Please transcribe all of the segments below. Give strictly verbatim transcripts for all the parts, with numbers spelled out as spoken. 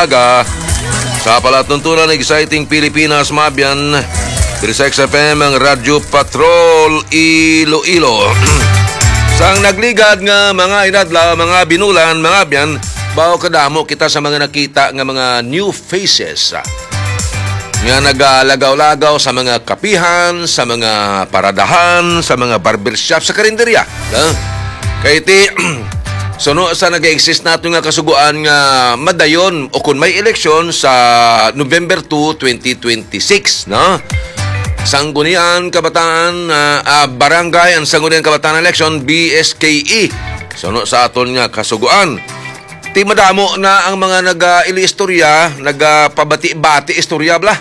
aga. Sa palatuntunan, Exciting Pilipinas, mga abyan. Diri sa X F M, ang Radyo Patrol, Iloilo. Sang nagligad nga mga inadlaw, mga binulan, mga abyan, bawo kadamo kita sa mga nakita nga mga new faces, ah, nga nagalagaw-lagaw sa mga kapihan, sa mga paradahan, sa mga barbershop, sa karinderya. Ah, kay ti, suno sa nag-exist nato nga kasugoan nga madayon o kung may eleksyon sa November two, twenty twenty-six, no? Sanggunian Kabataan, ah, ah, Barangay, ang Sanggunian Kabataan Election, B S K E. Suno sa aton nga kasugoan. Ti madamo na ang mga nag-, ah, ili istorya, nagpabati-bati istorya bla,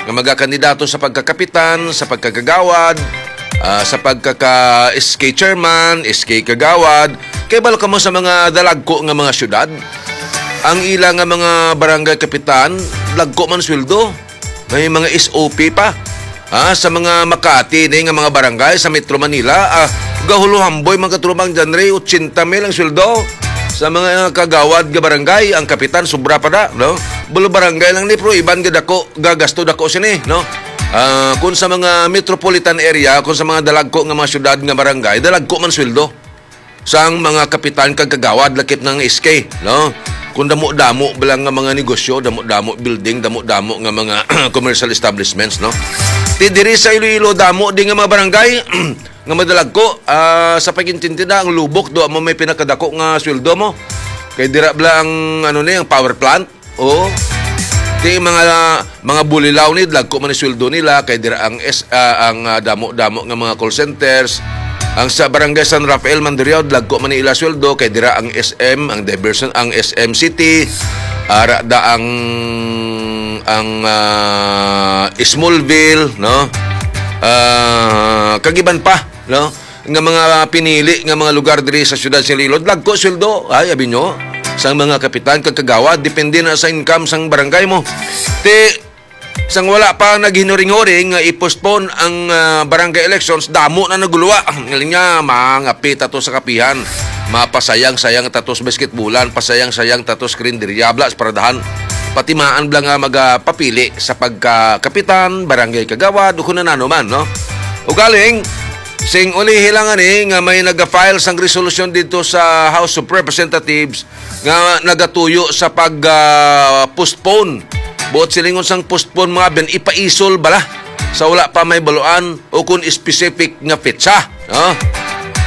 nga magakandidato sa pagkakapitan, sa pagkakagawad, ah, sa pagkaka-S K chairman, S K kagawad. Kay balo kamo sa mga dalagko nga mga syudad, ang ila nga mga barangay kapitan, dagko man sweldo. May mga S O P pa. Ah, sa mga Makati ni nga mga barangay sa Metro Manila, ah, gahuluhamboy, mga katrubang John Ray, ochenta mil ang sweldo. Sa mga kagawad nga barangay, ang kapitan, sobra pa na, no? Bulo barangay lang ni, pero iban nga dako, gagasto dako sini, no? Ah, kung sa mga metropolitan area, kung sa mga dalagko nga mga syudad nga barangay, dalagko man sweldo sang mga kapitan kag kagawad, lakip na nga S K, no? Kung damo-damo ba lang nga mga negosyo, damo-damo building, damo-damo nga mga commercial establishments, no? Ti diri sa Iloilo, damo din nga mga barangay nga madalagko, ah, sa pag-intindi na, ang Lubok, do mo may pinakadako nga sweldo mo. Kay dira bala ang, ano ni, ang power plant. Oo. Ti mga, mga Bulilaw ni, dagko man ang sweldo nila, kay dira ang S-, ah, ang, ah, damo-damo nga mga call centers. Ang sa Barangay San Rafael, Mandurriao, dagko man ni ila sweldo, kay dira ang S M, ang diversion, ang S M City, ara da ang, ang, ah, Smallville, no? Ah, kag iban pa, no? Nga mga pinili nga mga lugar diri sa siyudad sa Iloilo, dagko sweldo, ay, abi nyo, sang mga kapitan kag kagawad, depende na sa income sang barangay mo. Ti, sang wala pa naghinuring-huring nga i-postpone ang, ah, barangay elections, damo na naguluwa. Ngaling nga, mangapit ato sa kapihan. Mapasayang-sayang tatos basketbulan, pasayang-sayang tatos karinderya, bla, sa paradahan. Patimaan bla nga magapapili sa pagkakapitan, barangay kagawad, o kung ano man, no? Ugaling, sing ulihi lang ani nga may nag-file sang resolusyon dito sa House of Representatives nga nagatuyo sa pag, ah, postpone. Buot silingon sang postpone, mga abyan, ipaisol bala sa wala pa may baluan o kung specific nga petsa, no?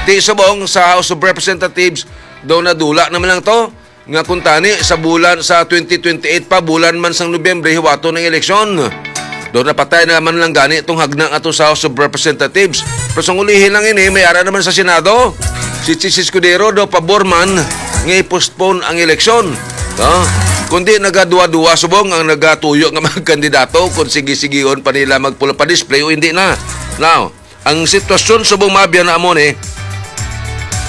Ti subong sa House of Representatives, daw nadula naman lang to, nga kuntani sa bulan sa twenty twenty-eight pa, bulan man sang Nobyembre, hiwaton ang eleksyon. Daw napatay naman lang gani itong hagna nga to sa House of Representatives. Pero sang ulihi lang ini, may ara naman sa Senado. Si Chiz Escudero daw pabor man nga i-postpone ang eleksyon. No? Kundi nagaduwa-duwa subong ang nagatuyo nga mga kandidato kung sige-sigihon pa nila magpula pa display o hindi na. Now, ang sitwasyon subong, mga abyan, na amo ni,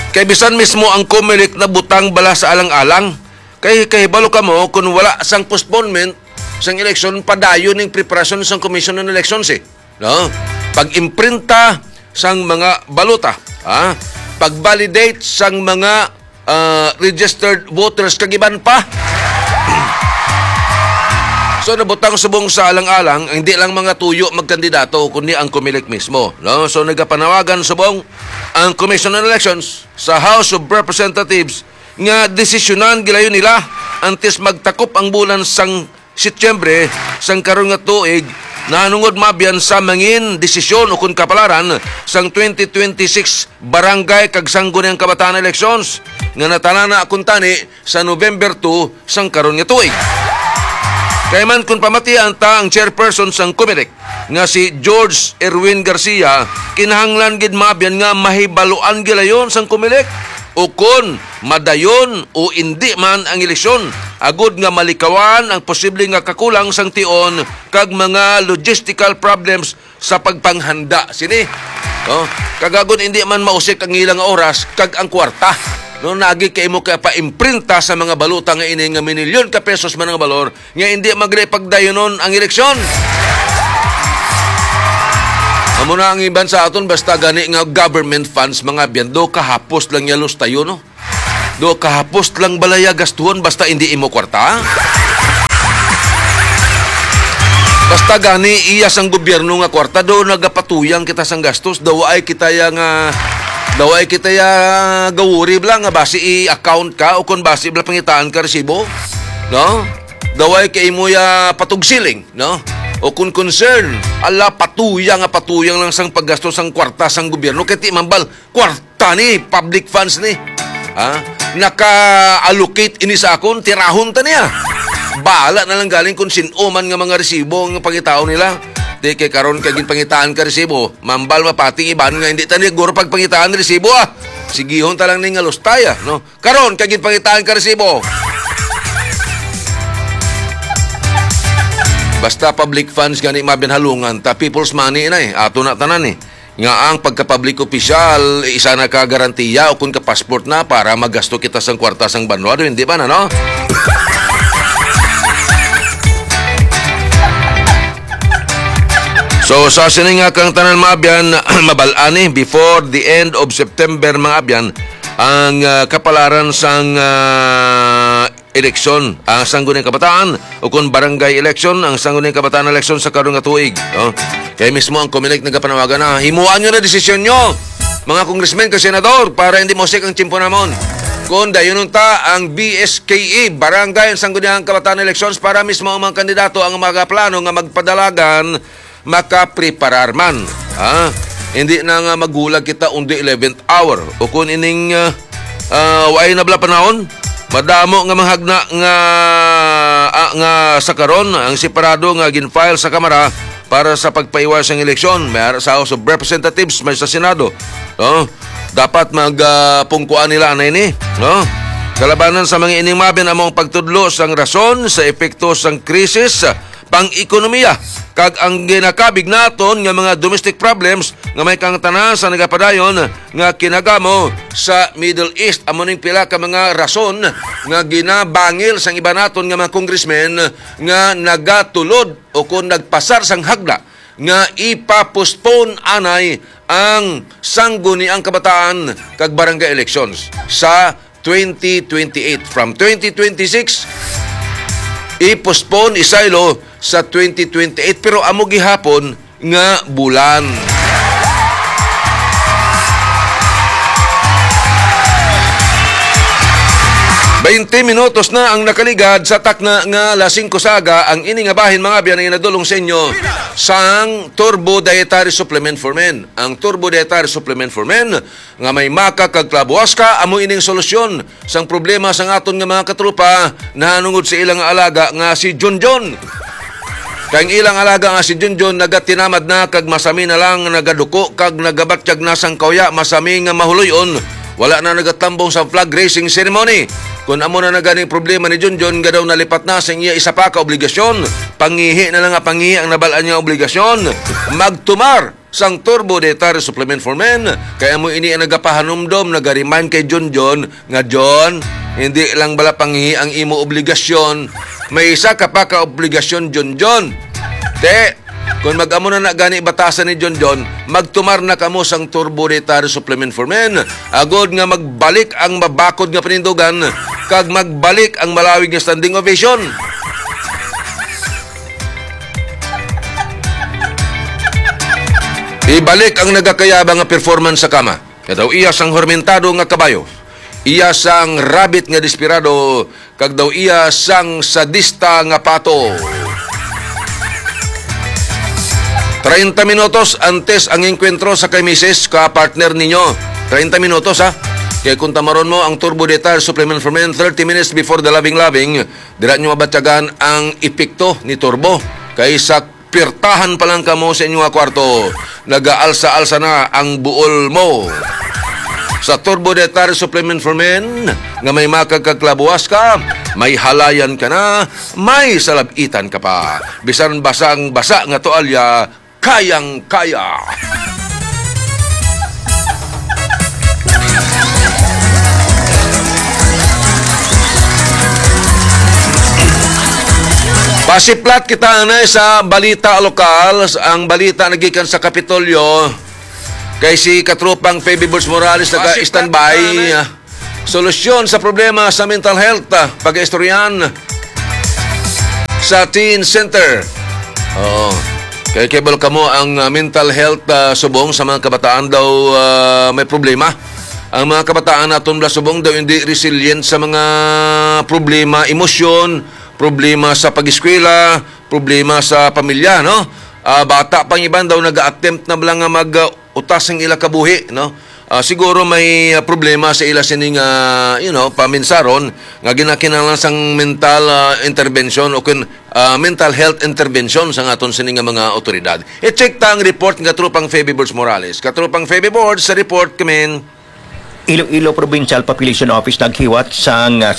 kay bisan mismo ang Comelec nabutang bala sa alang-alang. Kay kahibalo kamo, kung wala sang postponement sang eleksyon, padayon ning preparasyon sang Commission on Elections, eh. No? Pag-imprinta sang mga balota, ha? Pag-validate sang mga, ah, registered voters, kag iban pa. So, nabutang subong sa alang-alang, hindi lang mga tuyo magkandidato, kundi ang Comelec mismo, no? So, nagapanawagan subong ang Commission on Elections sa House of Representatives nga desisyonan gilayon nila antes magtakop ang bulan sang Setyembre sang karon nga tuig, nahanungod, mga abyan, sa mangin desisyon o kon kapalaran sang twenty twenty-six barangay kag sangguniang kabataan elections nga natanana kuntani sa November two sang karon nga tuig. Kay man, kung pamatian ta ang chairperson sang Comelec nga si George Erwin Garcia, kinahanglan gid, mga abyan, nga mahibaluan gilayon sang Comelec o kon madayon o indi man ang eleksyon, agud nga malikawan ang posible nga kakulang sang tion kag mga logistical problems sa pagpanghanda sini. No? Kag agud indi man mausik ang ilang oras kag ang kwarta. No, nagi kay imo ka paimprinta sa mga balota nga ini nga minilyon ka pesos man ang balor, nga hindi magli pagdayunon ang eleksyon. Amo na ang iban sa aton, basta gani nga government funds, mga abyan, do kahapos lang ya lustayon, no? Do kahapos lang balaya gastuhon basta hindi imo kwarta? Kwarta gani iya sang gobyerno nga kwarta, do nagapatuyang kita sang gastos, daw ay kita ya nga, daw ay kita ya gawuri bala nga basi i-account ka o kon basi bala pangitaan ka resibo, no? Daw ay kay imo ya patugsiling, no? O kon concern, ala, patuyang nga patuyang lang sang paggastos sang kwarta sang gobyerno, kay ti mambal, kwarta ni, public funds ni. Ha? Naka-allocate ini sa akon, tirahon ta niya. Bala na lang galing kung sin-o man nga mga resibo ang pangitaon nila. Di kay karon kay ginpangitaan ka resibo, mambal mapati iban nga hindi ta ni guro pagpangitaan resibo, ah. Sigihon ta lang ni nga lustay, ah, no? Karon kay ginpangitaan ka resibo. Basta public funds gani, mabinhalungan ta, people's money na eh. Ato na tanan eh. Nga ang pagka-public official, isa na ka garantiya o kung ka-passport na para magasto kita sang kwarta sang banwa, hindi ba na, no? So, sa sini nga kang tanan, mga abyan, mabalani, before the end of September, mga abyan, ang ah, kapalaran sang ah, eleksyon ang Sangguniang Kabataan, o kung barangay election ang Sangguniang Kabataan election sa karon nga tuig, no? Kaya mismo ang Comelec nagapanawagan na himuan nyo na desisyon nyo, mga congressmen kag senador, para hindi mosik ang tiyempo namon. Kung dayunon ta ang B S K E, barangay ang Sangguniang Kabataan elections, para mismo ang mga kandidato ang mga plano nga magpadalagan makapreparar man. Ha? Hindi na nga maghulag kita on the eleventh hour. O kung ining ah, ah, waay na bala panahon, madamo nga mga hagna nga ah, nga sa karon ang separado nga gin-file sa Kamara para sa pagpaiway sang eleksyon. May ara sa House of Representatives, may sa Senado. No? Dapat mag ah, pungkuan nila na ini, no? Kalabanan sa mga ining mabin among pagtudlo sang rason sa epekto sang krisis pang-ekonomiya kag ang ginakabig naton nga mga domestic problems nga may kangtanan sa nagapadayon nga kinagamo sa Middle East. Amo ning pila ka mga rason nga ginabangil sang iba naton nga mga congressmen nga nagatulod o kon nagpasar sang hagda nga ipa-postpone anay ang Sangguniang Kabataan kag barangay elections sa twenty twenty-eight. From twenty twenty-six, i-postpone, isaylo sa twenty twenty-eight, pero amo gihapon nga bulan. Baynte minutos na ang nakaligad sa takna nga alas singko sa aga. Ang ini nga bahin, mga abyan, ay nadulong sa inyo sang Turbo Dietary Supplement for Men. Ang Turbo Dietary Supplement for Men nga may maka kag klabuaska, amo ining solusyon sang problema sang aton nga mga katropa nahanungod sa ilang alaga nga si Junjun. Kay ang ilang alaga nga si Junjun nagatinamad na kag masami na lang nagaduko kag nagabatyag na sang kauya, masami nga mahuloy-on. Wala na nagatambong sa flag raising ceremony. Kun amo na na gani ang problema ni Junjun, nga daw nalipat na sa iya isa pa ka obligasyon. Pangihi na lang nga pangihi ang nabal-an niya obligasyon. Magtumar sang Turbo Dietary Supplement for Men, kay amo ini ang nagapahanumdom, naga-remind kay Junjun nga, "Jun, hindi lang bala pangihi ang imo obligasyon, may isa ka pa ka obligasyon, Junjun." Te, kung mag-amo na na gani batasan ni Junjun, magtumar na kamo sang Turbo Dietary Supplement for Men, agod nga magbalik ang mabakod nga panindugan, kag magbalik ang malawig nga standing ovation. Ibalik ang nagakayaba nga performance sa kama. Kay daw iya sang hormentado nga kabayo, iya sang rabbit nga desperado, kag daw iya sang sadista nga pato. Treinta minutos antes ang engkwentro sa kay misis ka partner ninyo. Treinta minutos, ha? Kay kung tamaron mo ang Turbo Dietary Supplement for Men thirty minutes before the loving loving, dira nyo mabatyagan ang epekto ni Turbo. Kay sa pirtahan pa lang kamo sa inyo nga kwarto, nagaalsa-alsa na ang buol mo. Sa Turbo Dietary Supplement for Men, nga may makagkaklabuwas ka, may halayan ka na, may salabitan ka pa. Bisan basang-basa nga tuwalya, kayang-kaya. Pasiplat kita anay sa balita lokal. Ang balita nagikan sa Kapitolyo kay si Katropang Feby Bulls Morales, naga-standby. Solusyon sa problema sa mental health, ah, pag-istoryan sa Teen Center. Oo. Kay kabalo kamo ang, ah, mental health, ah, subong sa mga kabataan daw, ah, may problema. Ang mga kabataan naton bala subong daw hindi resilient sa mga problema, emosyon, problema sa pag-eskwela, problema sa pamilya, no? Ah, bata pang iban daw nag-attempt na bala nga mag, ah, utas ang ila kabuhi, no? Ah, siguro may, ah, problema sa ila sining, ah, you know, paminsaron nga ginakinahanglan sang mental, ah, intervention o kun, ah, mental health intervention sa aton sini nga mga awtoridad. I-check ta ang report nga Tropang Feby Borges Morales. Katropang Feby Borges, sa report kami. Iloilo Provincial Population Office naghiwat sang, ah,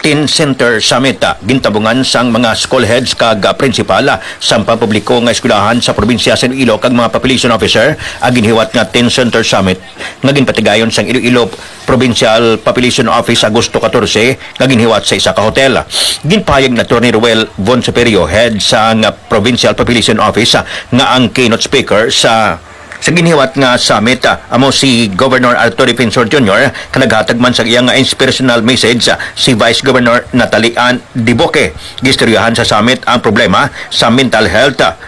Teen Center Summit, ah, gintabungan sang mga school heads kag, ah, principal, ah, sang pampubliko nga eskwelahan sa probinsya sa Iloilo kag mga population officer ang ginhiwat nga Teen Center Summit nga ginpatigayon sang Iloilo Provincial Population Office Agosto catorce nga ginhiwat sa isa ka hotel. Ginpahayag ni Attorney Ruel Von Superio, head sang, ah, Provincial Population Office, ah, nga ang keynote speaker sa sa ginhiwat nga summit, ah, amo si Governor Arthur Defensor Junior, kag naghatag man sa iya nga inspirational message, ah, si Vice Governor Natalie Ann Debuque. Giistoryahan sa summit ang problema sa mental health, ah,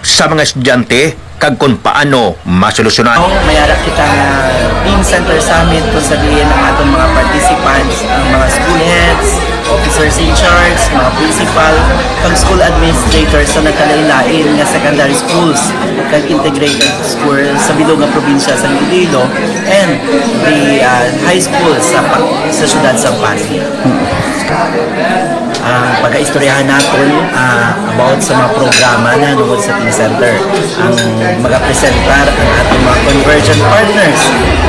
sa mga estudyante kag kon paano masolusyonan. Mayara kita nga Teen Center Summit, kung sabihin ang atong mga participants, ang mga school heads, officers in charge, mga principal, kag school administrators sa nagkalain-lain nga secondary schools kag integrated school sa bilog nga probinsya sa Iloilo and the, ah, high school sa pa-, sa siyudad sa Pasig. Ang pag-istoryahan naton, ah, about sa mga programa na nungod sa Teen Center. Ang magapresentar ang ating mga convergent partners.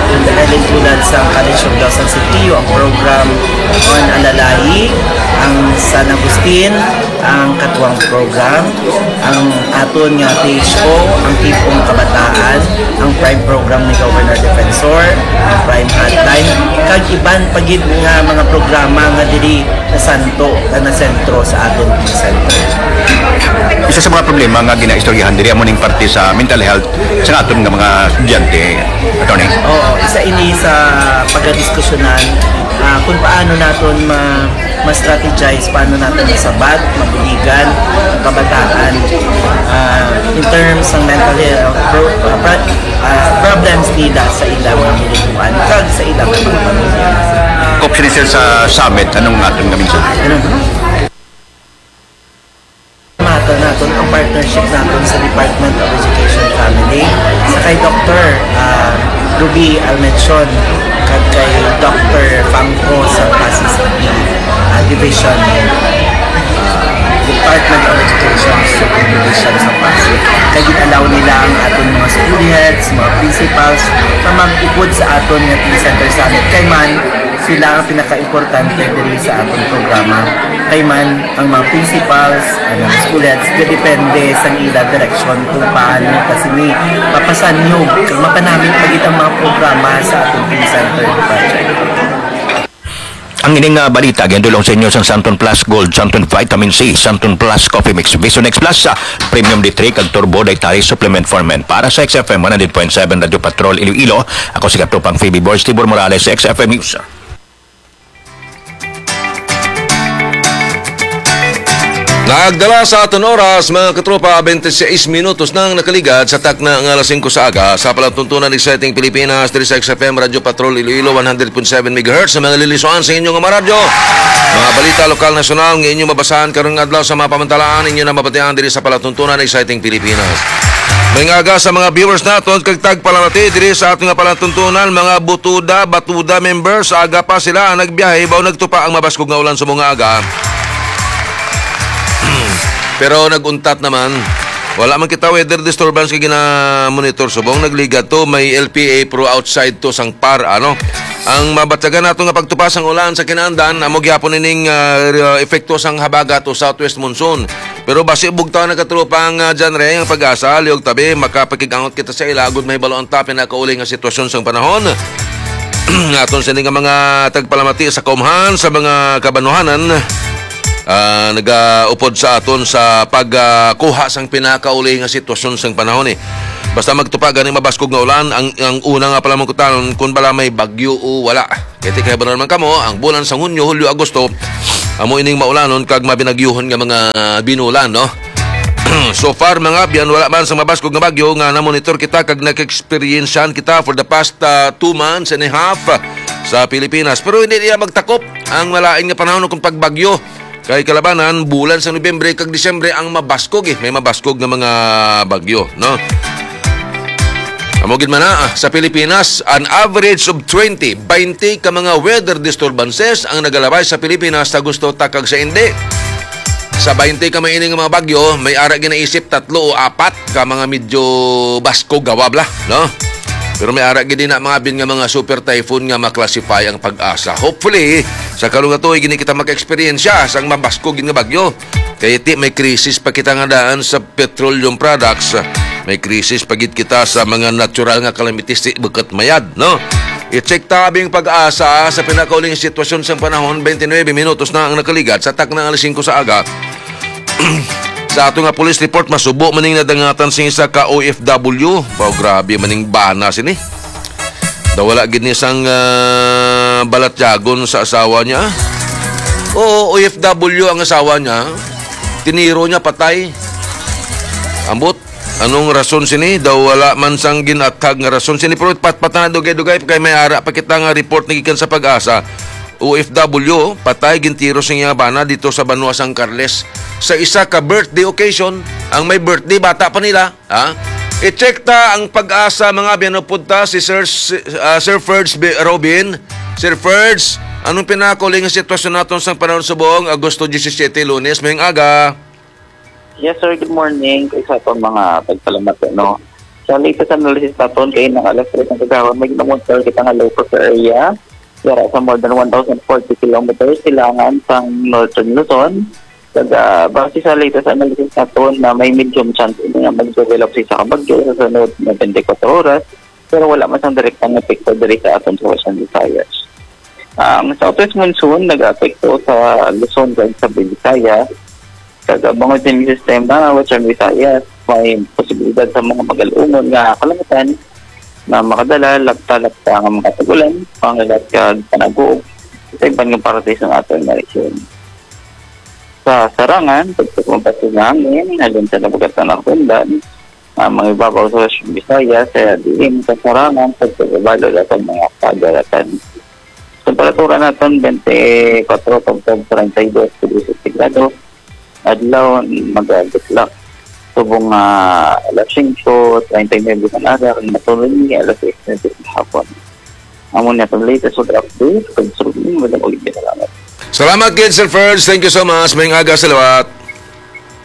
Ang dahil tulad sa College of Law San Sitillo, ang program on Alalahi, ang San Agustin, ang Katuwang Program, ang aton nga T H O, ang Tipong Kabataan, ang Prime Program ni Governor Defensor, ang Prime Hotline, kag iban pa gid nga mga programa nga diri nasanto, nga nasentro sa aton center. Isa sa mga problema nga ginaistoryahan diri amo ning parte sa mental health sa aton nga mga estudyante, attorney. Oo, isa ini sa pagdiskusyonan, ah, kung paano naton ma-, ma-strategize, paano naton masabat, mabuligan ang kabataan, ah, in terms ng mental health, pro-, ah, pro-, ah, problems nila sa ilang mga bubuan kag sa ilang mga pamilya. Kop sini, sir, sa summit, anong aton nga mensahe? Ano? Mata naton ang partnership naton sa Department of Education Family sa kay Doktor, ah, Ruby Almenchon kag kay Doktor Fangco sa Pasig City, ah, Division, ah, Department of Education, Division sa Pasig. Kay gin-allow nila ang aton mga school heads, mga principals na mag-upod sa aton nga Teen Center Summit. Kay man, sila ang pinakaimportante diri sa aton programa. Kay man, ang mga principals, ang mga school heads, depende sa ila direksyon kung paano ta sini papasanyog kag mapanamit pa gid ang mga programa sa atong Teen Center Project. Ang ining, ah, balita ginadul-ong sa inyo sang Santon Plus Gold, Santon Vitamin C, Santon Plus Coffee Mix, Visonex Plus, ah, Premium D three, kag Turbo Dietary Supplement for Men. Para sa X F M one hundred point seven Radyo Patrol Iloilo, ako si Katropang Phoebe Boris Tibor Morales sa X F M News. Nagdala sa aton oras, mga katropa, twenty-six minutos nang nakaligad sa takna nga alas singko sa aga. Sa palatuntunan, Exciting Pilipinas, diri sa X F M Radyo Patrol Iloilo, one hundred point seven megahertz, sa mga lilisuan sa inyong mga radyo. Mga balita lokal, nasyonal nga inyong mabasahan karong adlaw sa mga pamantalaan, inyo na mabatian diri sa palatuntunan, Exciting Pilipinas. May aga sa mga viewers naton kag tagpalamati diri sa aton nga palatuntunan, mga Butuda, Batuda members, aga pa sila ang nagbiyahe, baw nagtupa ang mabaskog nga ulan sa mga aga. Pero nag-untat naman. Wala man kita weather disturbance kay gina-monitor subong. Nagligad to, may L P A Pro outside to sang par, ano. Ang mabatyagan nato nga pagtupa sang ulan sa kinaandan, amo gihapon ining, ah, epekto sang habagat o southwest monsoon. Pero basi bugtaw na, katropa, ang, ah, John Ray, ang PAGASA, liog tabi, makapakig-angot kita sa ila, agud mahibalo ang ta pinakauli nga sitwasyon sang panahon. Aton sini nga mga tagpalamati sa kaumhan, sa mga kabanuhanan, ah, nagaupod sa aton sa pagkuha sang pinakauli nga sitwasyon sang panahon, eh. Basta magtupa gani mabaskog nga ulan, ang, ang una nga palamangkutanon kung bala may bagyo o wala. Kay ti kahibaluan man kamo, ang bulan sang Hunyo, Hulyo, Agosto, amo ining maulanon kag mabinagyuhon nga mga binulan, no? So far, mga abyan, wala man sa mabaskog nga bagyo nga namonitor kita kag nag-eksperyensyahan kita for the past, ah, two months and a half, ah, sa Pilipinas. Pero hindi niya magtakop ang malain nga panahon kung pagbagyo. Kay kalabanan, bulan sa Nobyembre kag Disyembre ang mabaskog, eh. May mabaskog nga mga bagyo, no? Amo gid man na, ah, sa Pilipinas, an average of twenty, twenty ka mga weather disturbances ang nagalabay sa Pilipinas sa Agosto takag sa Indi. Sa twenty ka maini nga mga bagyo, may ara ginaisip tatlo o apat ka mga medyo baskog gawab la, no? Pero may ara gid na mga abyan nga mga super typhoon nga maklasify ang PAGASA. Hopefully, sa karong tuig gini kita maka-eksperyensya sang mabaskog gid nga bagyo. Kay ti may krisis pa kita nga daan sa petroleum products. May krisis pa gid kita sa mga natural nga calamities, ti bukut mayad, no? I-check ta ang PAGASA sa pinakauling sitwasyon sang panahon, twenty-nine minutos na ang nakaligad sa takna nga alas singko sa aga. Sa ato nga police report, masubo man ning nadangatan sing isa ka O F W. Wow, grabe man ning bana sini. Daw wala gid ni sang, ah, balatyagon sa asawa niya. Oo, O F W ang asawa niya. Tiniro niya patay. Ambot, anong rason sini? Daw wala man sang ginathag nga rason sini. Pero patpatan na dugay-dugay kay may ara pa kita nga report na gikan sa PAGASA. O F W, patay, gintiro sa iya bana dito sa banwa sang Carles. Sa isa ka birthday occasion, ang may birthday, bata pa nila. Ha? I-check ta ang PAGASA, mga abyan, upod ta si Sir, ah, Sir Ferds B-, Robin. Sir Ferds, anong pinakauling nga sitwasyon naton sa panahon subong Agosto disisiete, Lunes, mayong aga? Yes, sir. Good morning. Kay sa aton mga tagpalamat, no? Sa latest analysis naton, kay nang alas tres ng kagahon, may ginamonitor kita nga low pressure area. Yara sa more than one thousand forty kilometers silangan sang Northern Luzon. Kag, ah, base sa latest analysis naton na may medium chance ini nga mag-develop sa isa ka bagyo sa sunod na twenty-four oras, pero wala man sang direktang epekto diri sa aton sa Western Visayas. Ang southwest monsoon nag-apekto sa Luzon kag sa Visayas. Kag ang mga din sistema Western Visayas, may posibilidad sa mga magal-ungon nga kalangitan na makadala lapta-lapta nga mga tag-ulan, pangilat kag panaguog sa iban nga parte sa aton nga rehiyon. Sa Sarangan, pagpagmabati nga hangin, halin sa nabugatan na kundan, ang mga ibabaw sa Western Visayas, sa diin sa Sarangan, pagpagabalo sa mga pagaratan. Temperatura naton, twenty-four tubtob treinta y dos degrees centígrado. Adlaw, mag-aabot lang. Subong nga alas singko, treinta y nuebe ang aga, kag matulog ni alas sais na sa hapon. Amo ni atong latest weather update. Kag subong, madam, ulit, salamat. Salamat gid, Sir Ferds. Thank you so much. Mayong aga sa liwat.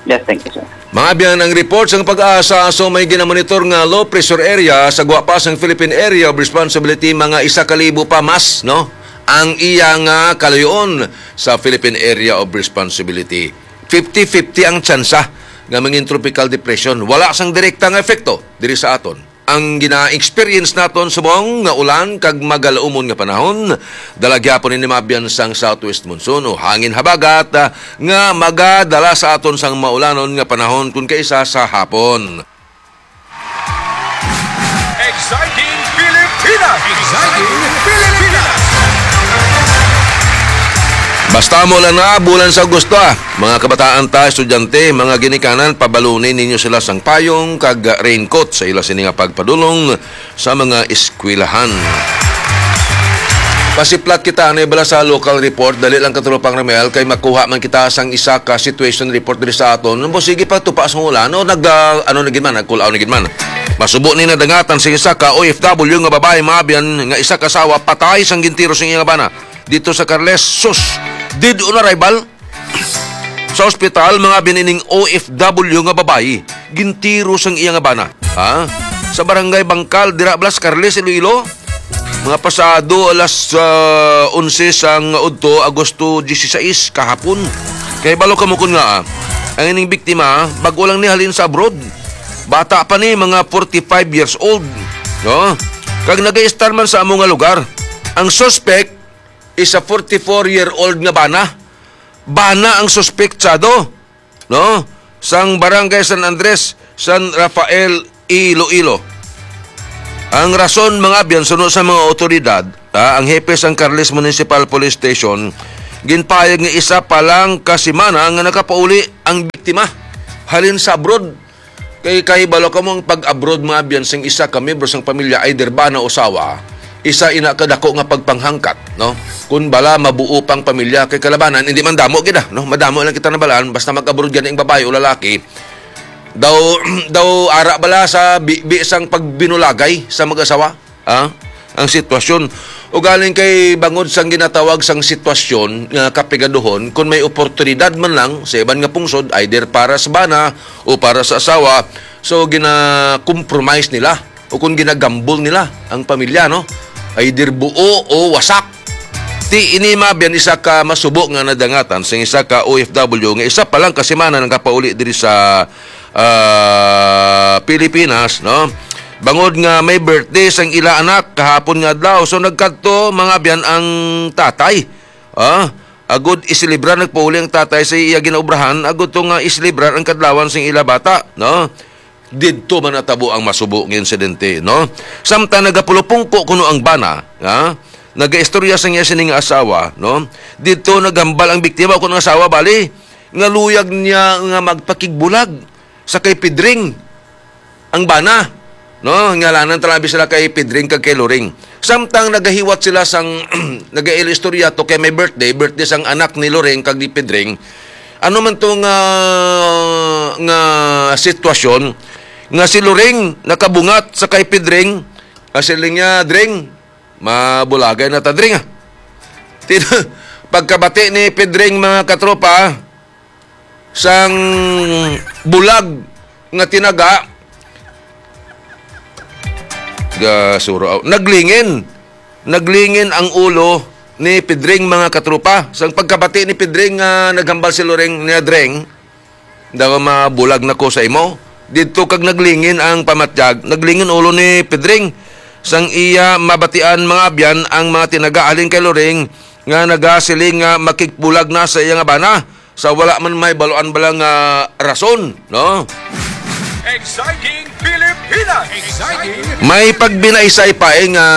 Yes, thank you, sir. Mga abyan, ang report sang PAGASA, so may ginamonitor nga low pressure area sa gwa pa sang Philippine Area of Responsibility, mga isa ka libo pa mas, no? Ang iya nga kalayo-on sa Philippine Area of Responsibility. Fifty fifty ang tsansa nga mangin tropical depression. Wala sang direkta nga epekto diri sa aton. Ang gina-experience naton subong nga ulan kag magal-umon nga panahon, dala gyapon ini mabyan sang southwest monsoon o hangin habagat, ah, nga magadala sa aton sang maulanon nga panahon kon kaisa sa hapon. Exciting Pilipinas! Exciting Pilipinas! Basta mo lang na bulan sa Agosto, ah. Mga kabataan ta, estudyante, mga ginikanan, pabaluni ninyo sila sang payong kag raincoat sa ila sini nga pagpadulong sa mga eskwelahan. Pasiplat kita anay bala sa local report, dali lang, Katropang Ramel, kay makuha man kita sang isa ka situation report diri sa aton. Mo sige pa tupa sa ulan, no? Nag, ah, ano na gid man, nagkulaw na gid man. Masubo ni nadangatan sa isa ka O F W nga babae, mga abyan, nga isa ka asawa patay sang gintiro sa iyang bana dito sa Carles. Sus, dead on arrival. Sa ospital, mga abyan, ining O F W nga babayi, gintiro sang iya nga bana. Ha? Sa barangay Bangkal, dira bala sa Carles, Iloilo. Mga pasado alas, ah, onse sang udto, Agosto dieciséis, kahapon. Kay balo kamo kun nga, ah, ang ining biktima, bag-o lang ni halin sa abroad. Bata pa ni, mga forty-five years old. No? Kag nag-i-stay man sa amo nga lugar. Ang suspect is a forty-four-year-old nga bana. Bana ang suspektsado, no? Sang Barangay San Andres, San Rafael, Iloilo. Ang rason, mga abyan, suno sa mga otoridad, ah, ang hepe sang Carles Municipal Police Station, ginpahayag nga isa pa lang ka semana nga nakapauli ang biktima. halin sa abroad. Kay kahibalo ka mo ang pag-abroad, mga abyan, sang isa ka miyembro sang pamilya, either bana o asawa, isa ina ka dako nga pagpanghangkat, no? Kun bala mabuo pang pamilya, kay kalabanan, hindi man damo gid, ah, no? Madamo lang kita nabalaan, basta mag-abroad gani ang babae o lalaki, daw, daw ara bala sa bi, bi sang pagbinulagay sa mag-asawa, ah, ang sitwasyon. Ugaling kay bangod sang ginatawag sang sitwasyon nga kapigaduhon, kun may oportunidad man lang sa iban nga pungsod, either para sa bana o para sa asawa, so gina-compromise nila o kung ginagambol nila ang pamilya, no? Either buo o wasak. Ti ini, mga abyan, isa ka masubo nga nadangatan sang isa ka O F W nga isa pa lang ka semana nakapauli diri sa, ah, Pilipinas, no? Bangod nga may birthday sang ila anak kahapon nga adlaw, so nagkadto, mga abyan, ang tatay. Ah, agud iselebrar, nagpauli ang tatay sa iya ginaobrahan agud to nga iselebrar ang kadlawan sang ila bata, no? Didto man natabo ang masubo nga insidente, no? Samtang nagapulupungko kuno ang bana, ha? Nagaistorya sang iya sini nga asawa, no? Didto naghambal ang biktima, kuno ang asawa, bali, nga luyag niya nga magpakigbulag sa kay Pedring ang bana, no? Ngalanan talabi sila kay Pedring kag kay Loring. Samtang nagahiwat sila sang nagailistorya to kay may birthday, birthday sang anak ni Loring kag ni Pedring. Ano man to nga, nga sitwasyon nga si Loring nakabungat sa kay Pedring, nga siling niya, "Dring, mabulagay na ta, Dring, ah." Tin-, pagkabati ni Pedring, mga katropa, sang bulag nga tinaga, gasuro, aw, naglingin. Naglingin ang ulo ni Pedring, mga katropa. Sang pagkabati ni Pedring nga naghambal si Loring niya, "Dring, daw mabulag na ko sa imo." Didto kag naglingin ang pamatyag, naglingin ulo ni Pedring. Sang iya mabatian, mga abyan, ang mga tinaga halin kay Loring nga nagasiling nga makigbulag na sa iya nga bana sa wala man may baluan bala nga rason, no? Exciting Pilipinas! Exciting! May pagbinaysay pa, eh, nga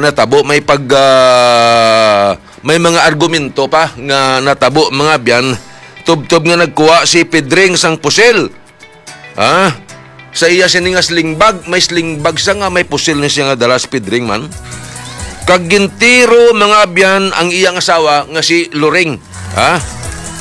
natabo, may pag, ah, may mga argumento pa nga natabo, mga abyan, tubtob nga nagkuha si Pedring sang pusil. Ha? Sa iya sini nga sling bag, may sling bag sa nga may pusil ni siya nga dala, si Pedring man. Kag gintiro, mga abyan, ang iyang asawa nga si Loring. Ha?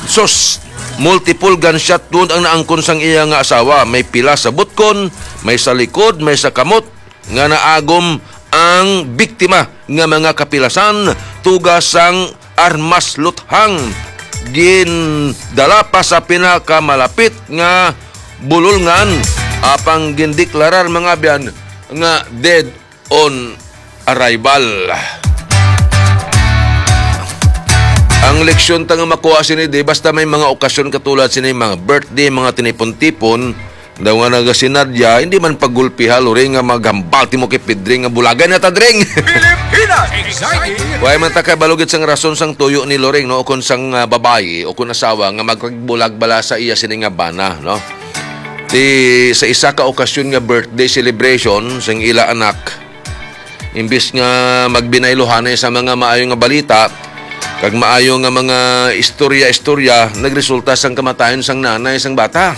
Sus, multiple gunshot wound ang naangkon sang iya nga asawa. May pila sa butkon, may sa likod, may sa kamot nga naagom ang biktima nga mga kapilasan, tuga sang armas luthang. Gindala pa sa pinakamalapit nga bululngan, apang gindeklarar, mga abyan, nga dead on arrival. Ang leksyon ta nga makuha sini, di basta may mga okasyon katulad sini, mga birthday, mga tinipon-tipon, daw nga nagasinadya, hindi man paggulpiha, Loring, nga maghambal timo kay Pedring nga bulagay na ta, Dring. Pilipinas Exciting! Way man ta kay balugit sang rason sang tuyo ni Loring, no? O kung sang, ah, babayi, o kung asawa, nga magbulag bala sa iya sini nga bana, no? Ti, sa isa ka okasyon nga birthday celebration sang ila anak, imbis nga magbinayluhanay sa mga maayo nga balita, kag maayo nga mga istorya-istorya, nagresulta sang kamatayon sang nanay sang bata.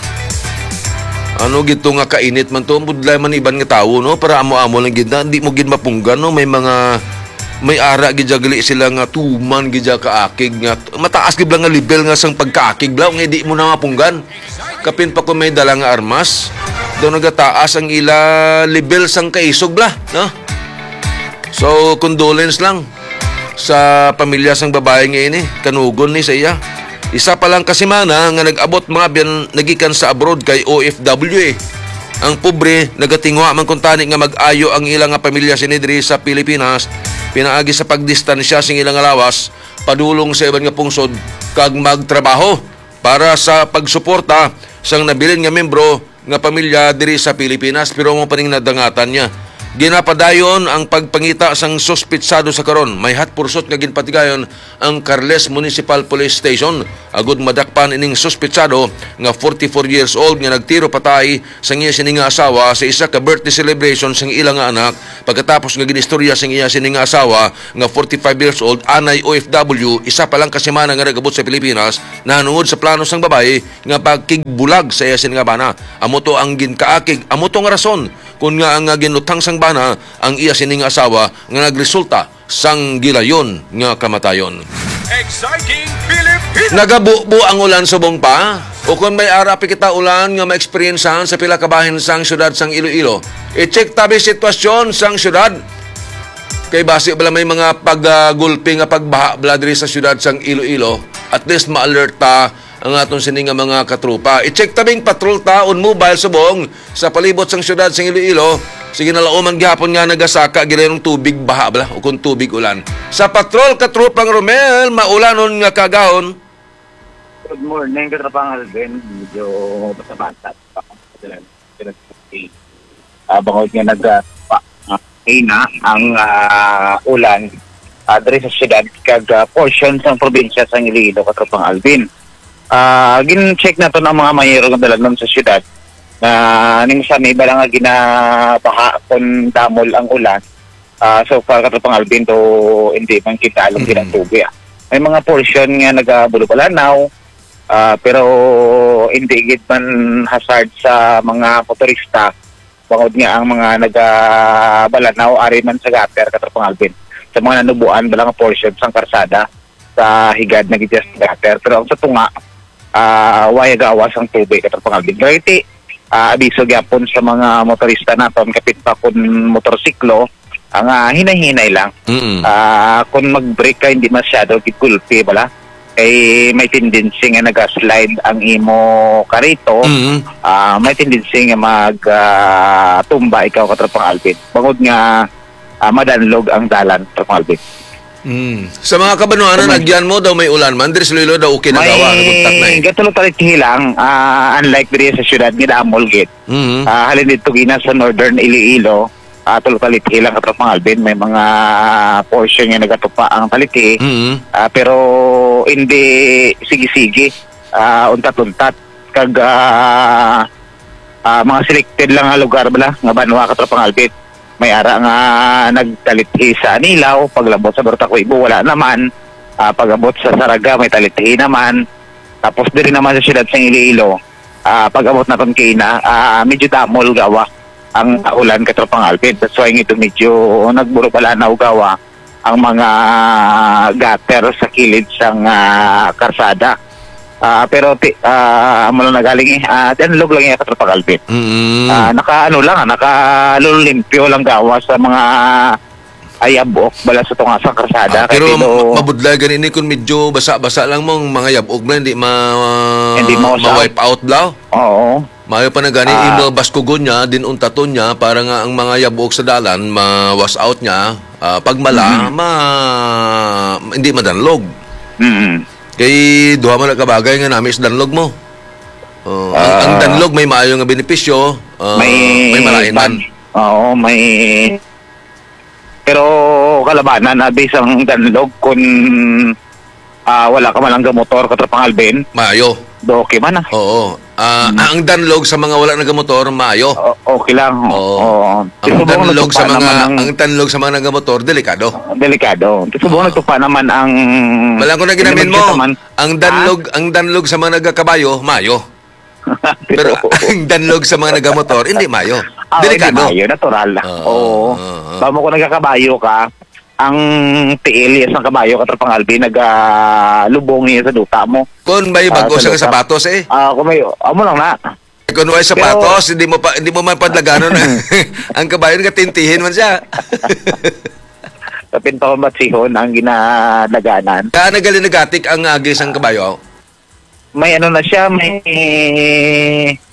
Ano gid to nga kainit man to, budlay man iban nga tawo, no? Para amo-amo lang gid na, di mo gid mapunggan, no? May mga, may ara gid dya gali sila nga tuman gid dya kaakig nga, mataas gid lang nga level nga sang pagkaakig bla, nga di mo na mapunggan. Kapin pa kung may dala nga armas, daw nagataas ang ila level sang kaisog bla, no? So, condolence lang sa pamilya sang babae nga ini, kanugon ni sa iya. Isa pa lang ka semana nga nag-abot, mga abyan, nagikan sa abroad kay O F W, eh. Ang pobre, nagatinguha man kuntani nga mag-ayo ang ila nga pamilya sini diri sa Pilipinas, pinaagi sa pagdistansya sing ila nga lawas, padulong sa iban nga pungsod, kag magtrabaho para sa pagsuporta sang nabilin nga membro nga pamilya diri sa Pilipinas, pero amo pa ning nadangatan niya. Ginapadayon ang pagpangita sang suspitsado sa karon. May hatpursot nga ginpatigayon ang Carles Municipal Police Station agud madakpan ining suspitsado nga forty-four years old nga nagtiro patay sang iya sini nga asawa sa isa ka birthday celebration sang ila nga anak, pagkatapos nga ginistorya sang iya sini nga asawa nga forty-five years old, anay O F W, isa pa lang ka semana nga nag-abot sa Pilipinas, nahanungod sa plano sang babayi nga pagkigbulag sa iya sini nga bana. Amo to ang ginkaakig, amo to nga rason kun nga ang, ah, ginluthang sang bana ang iya sini nga asawa nga nagresulta sang gilayon nga kamatayon. Exciting Filipino! Nagabubo ang ulan subong pa? O kon may ara pa kita ulan nga maeksperiensahan sa pila ka bahin sang siyudad sang Iloilo, i-check tabi sitwasyon sang siyudad. Kay basi bala may mga pagagulpi nga pagbaha bala diri sa siyudad sang Iloilo, at least ma-alert ta ang aton sini nga mga katropa. I-check tabing patrol ta on mobile subong sa palibot sang siyudad sang Iloilo. Sige, nalauman gihapon nga nagasaka gid ang tubig baha bala o kung tubig ulan. Sa patrol, katropang Romel, maulanon nga kagahon. Good morning, katropang Alvin. Medyo basa-basa pa. Ah, bangod nga nag, ah, pa, ah, hina ang, ah, ulan, ah, diri sa siyudad kag, ah, portion sang probinsya sang Iloilo, katropang Alvin. Ah, gin-check naton ang mga mayero nga dalan sa siyudad na nimo sa may bala nga ginabaha kon damol ang ulan. Ah, so far, katropang Alvin, do hindi man kita alam Mm. ginatubi, ah. May mga portion nga nagabulo-balanaw, ah, pero hindi gid man hazard sa mga motorista, bangod nga ang mga nagabalanaw ari man sa gutter, katropang Alvin, sa mga nanubuan bala nga portion sang karsada sa higad na gid sa gutter. Pero ang sa tunga, ah, way gawas ang tubig, katropang Alvin. Pero iti, ah, abiso gyapon sa mga motorista naton, kapit pa kun motorsiklo, ang, ah, hinay-hinay lang. Mm. Ah, kung mag-brake ka, hindi masyado gigulpi bala. Kay may tendency nga nag-slide ang imo karito, Mm. ah, may tendency nga mag, ah, tumba ikaw, katropang Alvin. Bangod nga, ah, madanlog ang dalan, katropang Alvin. Mm. Sa mga kabanwanan, Kuman. Agyan mo daw may ulan man. Diri sa Iloilo daw okay na May gawa, nagugtak na eh. Gatulo talithi lang, ah, unlike diri sa syudad, nga damol gid. Mm. Ah, halin dito gina sa Northern Iloilo, ah, tulo talithi lang, katropang Alvin. May mga portion nga nagatupa ang talithi. Mm. Ah, pero hindi sige-sige, ah, untat-untat. Kag, ah, ah, mga selected lang nga lugar bala, nga banwa, katropang Alvin. May ara nga nagtalithi sa Anilao, paglabot sa Barutaco, Ibo, wala naman. Ah, pag-abot sa Saraga, may talithi naman. Tapos diri naman sa siyudad sa Iloilo, ah, pag-abot naton kaina, ah, medyo damol gawa ang ulan, katropang Alvin. That's why ngito medyo nagburubalanaw gawa ang mga gutter sa kilid sang, ah, karsada. Ah, pero ti-, ah, amo lang nagaling eh. Ah, danlog lang iya, katropang Alvin. Mm. Ah, naka, ano lang, ah, naka lulolimpyo lang gawa sa mga ayabok bala sa tunga sang karsada. Ah, kay pero pino ma-, mabudlay gani ini kung medyo basa-basa lang mo ang mga yabok na hindi ma-, Hindi ma-wash out. Ma-wipe out bla. Oo. Maayo pa na gani, Ah. imo baskugon niya, din untaton niya, para nga ang mga yabok sa dalan, ma-wash out niya, ah, pag mala, Mhm. ma-, hindi madanlog. Mhm. Kay duha man na kabagay nga nami sa danlog mo. Oh, ang, ang Ah. danlog may maayo nga benepisyo, ah, May may malainan. Bad-, oo, may Pero kalabanan, abi, sang danlog, kun, ah, wala ka man lang gamotor, katropang Alvin. Maayo. Do, okay man, ah. Oo. Ah, Hmm. ang danlog sa mga wala nagamotor, maayo. O-, okay lang. Oo. Oo. Ang Subong danlog sa nagtupa mga, naman ang ang danlog sa mga nagamotor, delikado. Delikado. Subong Oo. nagtupa naman ang Wala ko na ginamin mo. Ang danlog, Ah? ang danlog sa mga nagakabayo, maayo. Pero ang danlog sa mga nagamotor, hindi mayo. Ah, hindi Delikado. mayo, natural. Oo, Oo. oo, oo. Bamo ko nagkakabayo ka, ang tiil sang kabayo, katropang Alvin, nagalubong niya sa duta mo. Kung may Ah, bago sa siya nga duta. sapatos, eh. Ah, kung may, amo lang na. Kung may Pero sapatos, hindi mo pa, hindi mo man padlaganon ang kabayo, nagatintihin man siya. Kapin pa kung batsihon ang ginadaganan. Kaya nagalinagatik ang agi sang kabayo. May ano na siya, may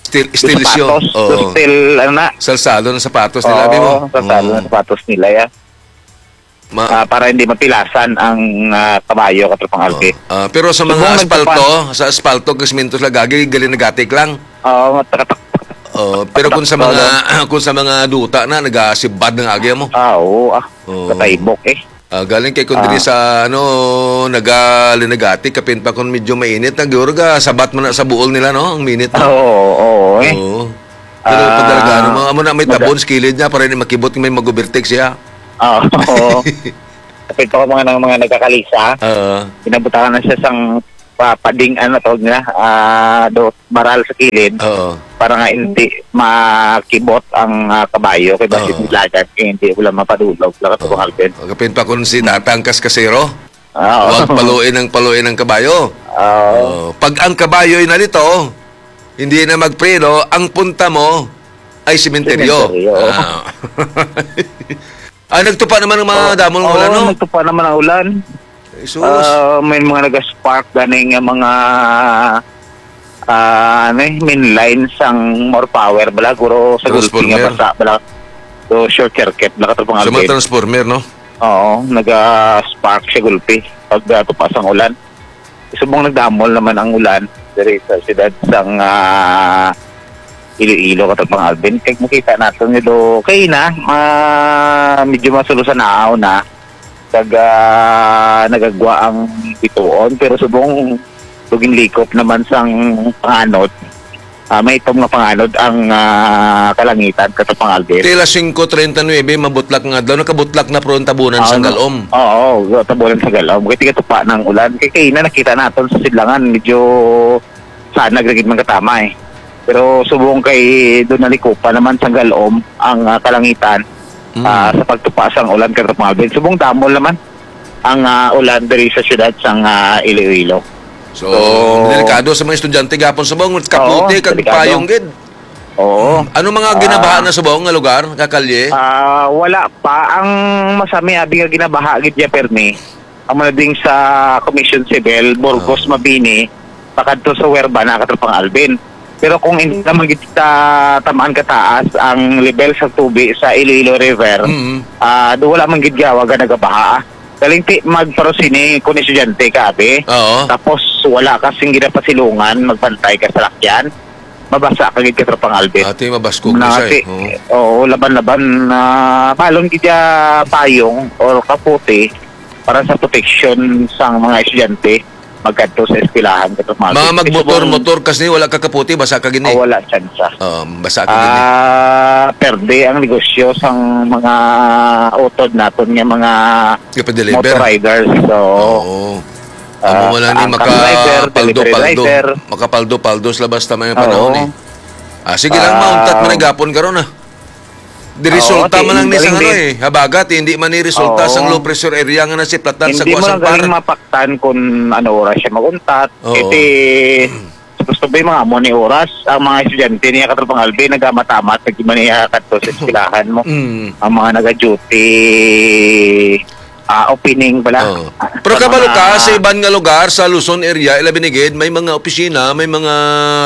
Steel, steel shoe. sapatos, Oo. steel, ano na. Salsado ng sapatos nila, Oo, abi mo? salsado Mm. ng sapatos nila, ya. Ma- Ah, para hindi mapilasan ang, ah, kabayo, katropang Oo. Alvin. Ah, pero sa mga Subong asfalto, nagpapa- sa asfalto, kay siminto sila, gagi, galinagatik lang. Oo, matakatak. Oh, pero kung sa mga, kung sa mga duta na, nagasibad ng agya mo. Ah, oo, ah. Oo. Kataybok, eh. Ah, galing kay kung diri Ah. sa, ano, naga-, Linagati, kapin pa kung medyo mainit, na gyud ga sabat man na sa buol nila, no? Ang minit, no? Oo, oo, eh. Oo. Pero pag talaga, ano, Ah, mga, amo na may maga- tabon sa kilid niya para hindi makibot may mag-overtake siya. Oo. Kapin pa ko mga, ng mga nagkakalisa, Oo. Pinabutangan na siya sang pa-, pading, ano tawag nila, ah, do, baral sa kilid Oo. para nga hindi makibot ang, ah, kabayo kay basin Oo. Lagan kay hindi wala mapadulog, wala ka Oo. Kapin pa kung si Tatang Kaskasero, Ah, oo. Wag paluin ang, paluin ang kabayo. Oo. Oo. Pag ang kabayo'y nalito, hindi na magpreno, ang punta mo ay sementeryo. Sementeryo. Ah. Ah, nagtupa naman ang mga Oo, damon nga oo, ulan, no? Nagtupa naman ang ulan. Jesus. Ah, may mga nag-spark gani nga mga, ah, ano eh, main line sang more power bala, guro sa gulpi nga Transformer. Basa bala. So, short circuit bala, katong mga Sa mga update. Transformer, no? Oo, naga-spark siya gulpi pag, ah, tupa sang ulan. Subong nagdamol naman ang ulan diri sa siyudad sang, ah, Iloilo, katong mga Alvin. Kay makita nato nito kay na, ah, medyo masulo sa naaw na. Kag, ah, nagagwa ang bituon, pero subong ginlikop naman sang panganod. Ah, may itom nga panganod ang, ah, kalangitan, katong mga Alvin. Tila singko treinta nuebe, mabutlak nga adlaw, nakabutlak na pero ang tabunan sa Ah, galom. Oo, tabunan sa galom. Kay tigatupa ng ulan. Kay kaina nakita naton sa sidlangan, medyo sanag ra gid man katama, eh. Pero subong kay doon nalikupan naman sa galom ang, ah, kalangitan, Mm. ah, sa pagtupa sang ulan, katong mga Alvin. Subong damol naman ang, ah, ulan diri sa siyudad sang, ah, Iloilo. So, So, delikado sa mga estudyante gapon sa mga kapote Oo, kag delikado. Payong gid. Oo. Ano mga Ah. ginabaha na sa buong nga lugar, kakalye? Ah, wala pa. Ang masami abi nga ginabaha gid ya, Permi, ang mga ding sa Commission Civil, Burgos, Ah. Mabini, pakadto sa Huerba na, katropang Alvin. Pero kung hindi naman gid ta tamaan kataas ang level sa tubig sa Iloilo River, Mm. ah, do wala man gid gawa nga nagabaha. Galing ti magparusini kung estudyante ka, abi. Oo. Tapos wala kasing ginapasilungan, magbantay ka sa lakyan. Mabasa ka gid, katropang Alvin. Ati, mabaskog na siya, eh. Oo. Oo, laban-laban na balon gid ya payong or kapote para sa proteksyon sang mga estudyante magkadto sa eskwelahan, katropang Alvin. Mga Kasi magmotor, kung motor kasi wala ka kapote, basa ka gini. Ah, wala tsansa. Oo, basa ka gini. Ah, perde ang negosyo sang mga utod naton nga mga Ipa-deliver. Motor riders. So, Oo. Amo ah, man lang ni ang truck driver, makapaldo-paldo. Delivery driver. Makapaldo-paldo sila basta may panahon, Oo. eh. Ah, sige lang, Ah, mauntat man ang gapon karon, ah. Di Oo, resulta ti-, man lang ni galing sang ano, din. Eh, habagat, hindi man ni resulta Oo. sang low pressure area nga nasiplatan sa Hindi mo Guas lang galing Ampar. Mapaktan kung ano oras siya maguntat. Oo. Kasi, gusto ba yung mga amo ni oras? Ang mga estudyante niya, katropang Alvin, nagamamat-amat, nagmaniya kadto sa eskwelahan mo. Mm. Ang mga nag-duty, ah, opening bala. Oo. Pero Sa kabalo ka, mga sa iban nga lugar, sa Luzon area, ilabi ni gid, may mga opisina, may mga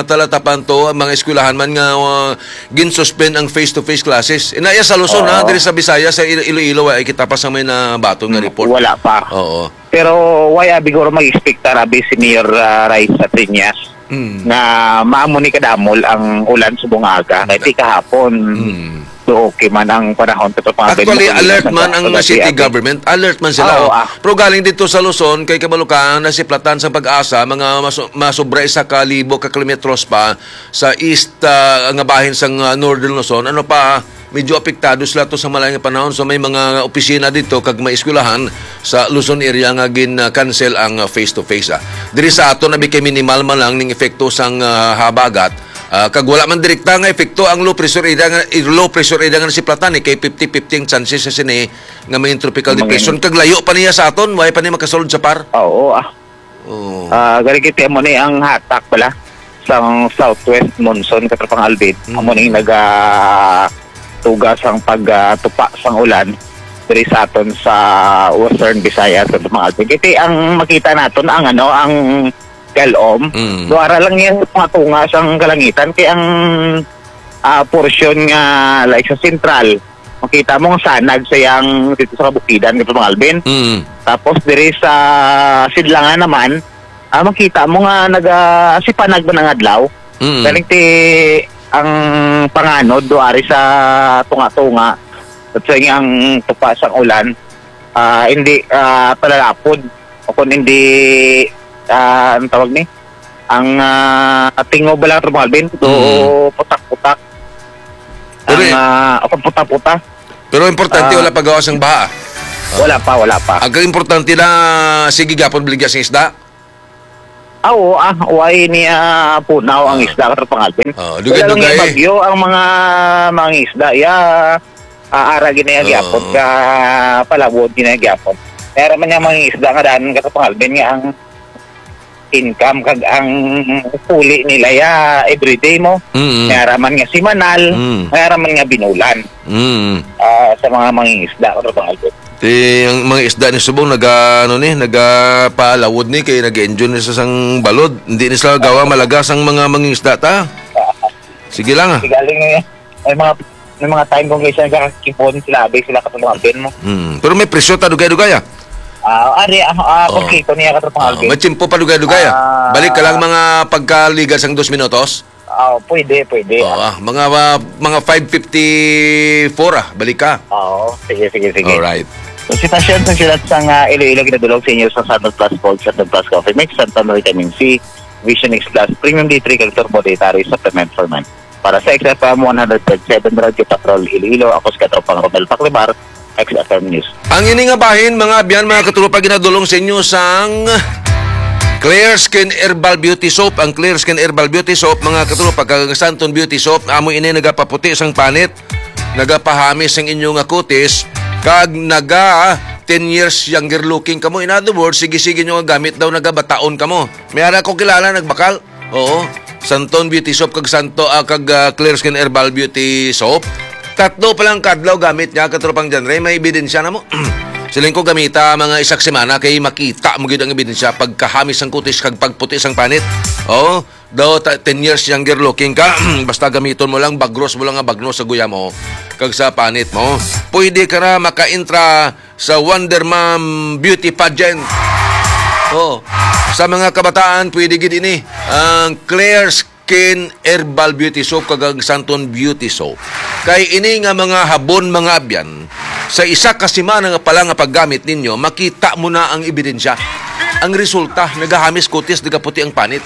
talatapan to, ang mga eskwelahan man nga, uh, ginsuspend ang face-to-face classes. Inaya sa Luzon, ha, Oo. Diri sa Bisaya, sa Ilo-, Iloilo, ay kita pa sa may nabaton nga report. Wala pa. Oo. Pero why, ah, biguro mag-expect ta, abi si Mayor, ah, Raisa Triñas, Mm. nga maamo ni kadamol ang ulan subong aga. Kay ti kahapon, Mm. do okay man ang panahon, katropang Alvin, Actually, makulinan alert man sa man ang kagabi, city abi. Government. Alert man sila, Ah, oo, oh. Ah. Pero galing dito sa Luzon, kay kabalo ka, nasiplatan sa PAGASA, mga maso-, masobra isa ka libo ka kilometros pa sa east, ah, nga bahin sang, ah, Northern Luzon. Ano pa, medyo apektado sila to sa malain nga panahon. So, may mga opisina dito kag may eskwelahan sa Luzon area nga gin-cancel ang, ah, face-to-face, ah. Diri sa aton, abi kay minimal man lang ning epekto sang, ah, habagat. Ah, kag wala man direkta nga epekto ang low pressure area nga, eh, low pressure area nga nasiplatan, eh, kay fifty fifty ang chances sa sini nga may tropical Mga depression. Kag layo pa niya sa aton, way pa niya makasulod sa par. Oo, ah. Oo. Ah, gani kita mo ni ang hatak pala sa southwest monsoon, katropang Alvin. Mm. Amo ning naga-, tuga sang pag, ah, tupa sang ulan diri sa aton sa Western Visayas, katropang Alvin. Kay ang makita naton ang, ano, ang galom. Mm. Duara lang yan sa mga tunga sang kalangitan. Kay ang, ah, portion nga, like, sa sentral, makita mo ang sanag sa yang dito sa kabukidan, katropang Alvin. Mm. Tapos diri sa sidlangan naman, ah, makita mo nga naga-, sipanag man ang adlaw. Mm. Galing ti, ang panganod do ari sa tunga-tunga, at sa ang tupa sang ulan, ah, hindi, ah, palalapod, o kung hindi, ah, ang tawag ni, ang, ah, tingob lang, Katropa Alvin, do Mm. putak-putak. Pero Ang, eh, ah, o kung puta-puta. Pero importante, Ah. wala pa gawas ang baha. Wala pa, wala pa. Ang importante na, sige gyapon, baligya sa isda. Ah, oo, ah, way ni, ah, punaw ang Ah. isda, Katropa Alvin. Ah, Wala lang dugay-dugay. yung bagyo, ang mga, mga isda, ya, ah, ara gini ang Oo. gyapon, ka palabot gini ang gyapon. Kaya naman yung mga isda nga daan, Katropa Alvin, nga ang income kag ang puli nila ya everyday mo. Mm. May araman nga simanal, Mm. may araman nga binulan. Mm. Ah, sa mga mangingisda, Katropa Alvin. Ti, ang mga isda ni subong naga, ano ni, nagapalawod ni kay nag-enjoy ni sa sang balod. Hindi ni sila gawa malaga sang mga mangingisda ta. Sige lang, ah. Sigaling ni, may mga, may mga time kung kaysa nagkakakipon sila, abay sila, Katropa Alvin mo. Mm. Pero may presyo ta, dugay-dugay, ah. Ah, ari, ah, ah, Oo. kompleto niya, Katropa Ah, Alvin. may tsimpo pa, dugay-dugay, ah. Ah. Balik ka lang mga pagkaligas ang dos minutos. Ah, pwede, pwede. Oo, ah, mga, ah, mga five fifty-four, ah, balik ka. Oo, sige, sige, sige. Alright. Sa sitwasyon sa siyudad sang, ah, Iloilo, ginadulog sa inyo sa Santon Plus Gold, Santon Plus Coffee Mix, Santon Vitamin C, Vision X Plus, Premium D three, kag Turbo Dietary Supplement for Men. Para sa X F M one hundred point seven Radyo Patrol Iloilo, ako si Katropang Romel Paclimar, X F M News. Ang ini nga bahin, mga abyan, mga katropa, ginadulong sa inyo sang Clear Skin Herbal Beauty Soap. Ang Clear Skin Herbal Beauty Soap, mga katropa, kag ang Santon Beauty Soap, amo ini nagapaputi sang panit, nagapahamis sang inyo nga kutis, kag naga ten years younger looking kamo. In other words, sige-sige nyo nga gamit daw, nagabataon kamo. May ara ko kilala, nagbakal. Oo. Santon Beauty Soap kag Santo, ah, kag, ah, Clear Skin Herbal Beauty Soap. Tatlo pa lang kadlaw gamit niya, Katropang John Ray, may ebidensya na mo. Siling ko gamita mga isak semana kay makita mo gid ang ebidensya pagkahamis ang kutis kag pagputi sang panit. Oo. Daw ta-, ten years younger looking ka, basta gamiton mo lang, bagros mo lang nga bagno sa guya mo kag sa panit mo. Pwede ka na makaintra sa Wonder Mom Beauty Pageant. Oh, sa mga kabataan, pwede gid ini ang Clear Skin Herbal Beauty Soap kag ang Santon Beauty Soap. Kay ini nga mga habon, mga abyan, sa isa ka semana nga pala nga paggamit ninyo, makita mo na ang ebidensya. Ang resulta, nagahamis kutis, nagaputi ang panit.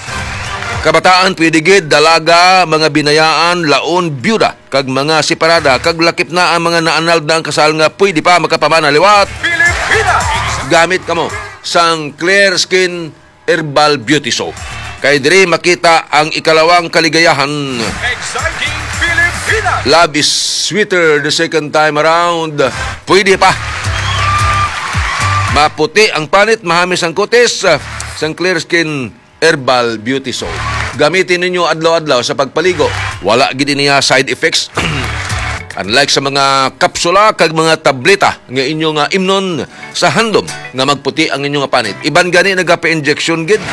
Kabataan, pwede gid, dalaga, mga binayaan, laon, byuda, kag mga separada, kag lakip na ang mga naanal na ang kasal nga pwede pa makapamana liwat. Pilipinas! Gamit kamo sang Clear Skin Herbal Beauty Soap. Kay diri makita ang ikalawang kaligayahan. Exciting Pilipinas! Love is sweeter the second time around. Pwede pa. Maputi ang panit, mahamis ang kutis, ah, sang Clear Skin Herbal Beauty Soap. Gamitin ninyo adlaw-adlaw sa pagpaligo. Wala gid niya side effects. Unlike sa mga kapsula kag mga tableta nga inyo nga imnon sa handom nga magputi ang inyo nga panit. Iban gani nagapa-injection gid.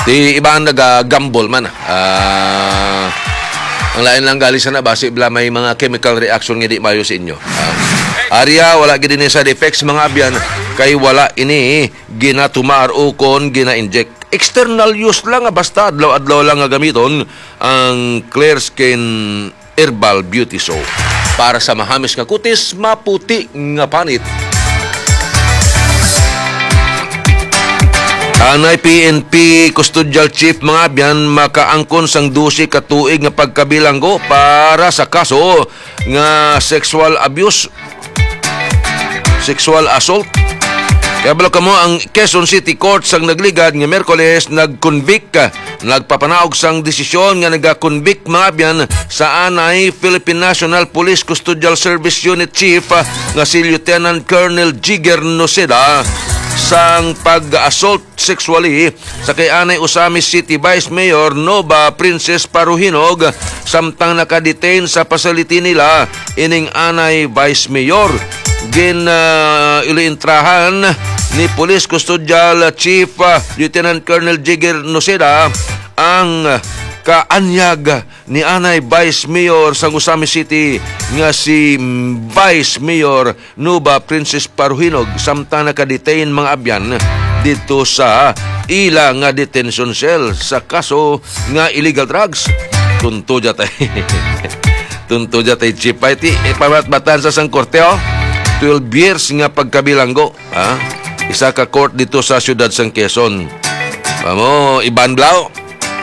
Di iban naga-gamble man. Ah, ang lain lang gali sana basi bala may mga chemical reaction nga di maayo sa inyo. Ah, arya, wala gid ini side effects, mga abyan, kay wala ini ginatumar o kon gina-inject. External use lang nga basta adlaw-adlaw lang nga gamiton ang Clear Skin Herbal Beauty Soap para sa mahamis nga kutis, maputi nga panit. Anay P N P Custodial Chief, mga abyan, makaangkon sang dose ka tuig nga pagkabilanggo para sa kaso nga sexual abuse, sexual assault. Kaya balo kamo, ang Quezon City Court sang nagligad nga Miyerkules nag-convict, nagpapanaog sang desisyon nga naga-convict, mga abyan, sa anay Philippine National Police Custodial Service Unit Chief, ah, nga si Lieutenant Colonel Jigger Noceda sang pag-assault sexually sa kay anay Ozamiz City Vice Mayor Nova Princess Paruhinog, samtang naka-detain sa facility nila ining anay Vice Mayor. Gin, ah, iliintrahan ni Police Custodial Chief, ah, Lieutenant Colonel Jigger Noceda ang kaanyag ni anay Vice Mayor sang Ozamiz City nga si Vice Mayor Nova Princess Paruhinog, samtang naka-detain, mga abyan, dito sa ila nga detention cell sa kaso nga illegal drugs. Tunto dya tay. Tunto dya tay, Chief. Ay, ti, ipamatbatan sa sang korte, oh. Twelve years nga pagkabilanggo, ha? Isa ka court dito sa siyudad sang Quezon. Amo, iban blaw.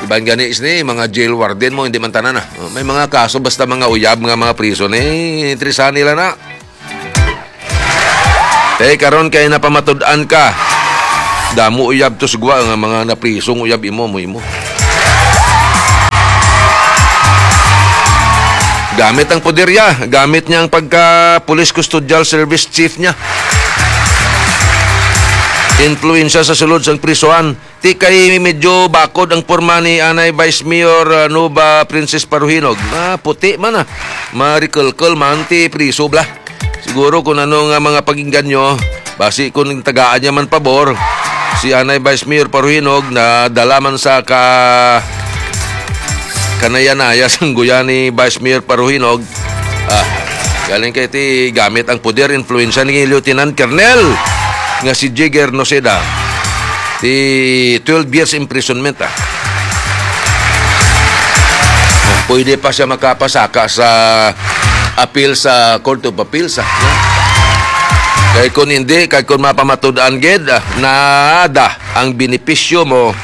Iban gani sini, mga jail warden mo, hindi man tanan, ah. Oh, may mga kaso, basta mga uyab nga mga prison, eh, interesahan nila na. Te, karon kay napamatud-an ka. Damo uyab to sa gwa nga mga naprisong uyab imo mo imo. Gamit ang poder niya, gamit niya ang pagka police custodial service chief niya. Influensya sa sulod sang prisuhan. Ti kay medyo bakod ang porma ni anay Vice Mayor, ah, Nova Princess Paruhinog. Ah, puti man, ah. Marikulkul man ti priso bla. Siguro kung ano nga mga pag-inganyo, basi kung tagaan niya man pabor, si anay Vice Mayor Paruhinog na dala man sa ka kanaya-naya sang guya ni Vice Mayor Paruhinog. Ah, galing kay ti gamit ang poder, influensya ni Lieutenant Colonel nga si Jigger Noceda. Ti twelve years imprisonment, ah. Pwede pa siya makapasaka sa appeal sa Court of Appeals, ah. Kay kung hindi, kay kung mapamatud-an gid, ah, nada ang benepisyo mo,